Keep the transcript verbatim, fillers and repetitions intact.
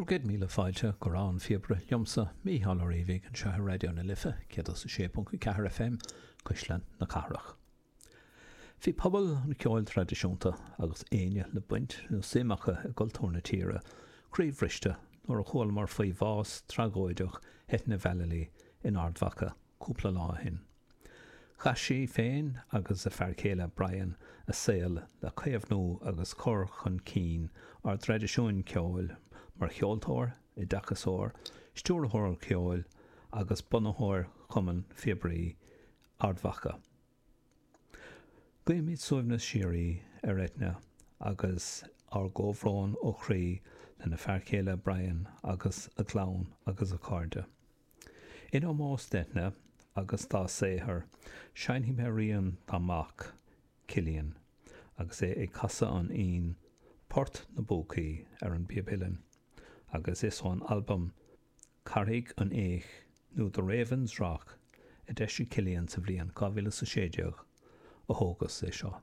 Bhur gcéad míle fáilte go Rogha an Phíobaire liomsa, Mícheál Ó Riabhaigh, anseo ar Raidió na Life céad is a sé ponc a ceathair F M, Cuisle na Cathrach. Bhí pobal an cheoil traidisiúnta agus éinne le baint nó suim acu i gcultúr na tíre croíbhriste nuair a chualamar faoi bhás tragóideach Eithne Vallely in Ard Mhacha cúpla lá ó shin. Chaith sí féin agus a fear céile Brian a saol le caomhnú agus cur chun cinn ár dtraidisiúin ceoil mar cheoltóir, oideachasóir, stiúrthóir ceoil agus bunaitheoir Chumann Phíobairí Ard Mhacha. Guímid suaimhneas síoraí ar Eithne agus ár gcomhbhrón ó chroí lena fear céile Brian agus a clann agus a cairde. In ómós d'Eithne agus dá saothar, seinnfidh mé rian dá mac, Cillian, agus é ag casadh an fhoinn Port na bPúcaí ar an bpíob uilleann, agus is ón albam Carraig an Fhéich nó The Ravens Rock a d'eisigh Cillian sa bhliain dhá mhíle is a sé déag a thógas é seo.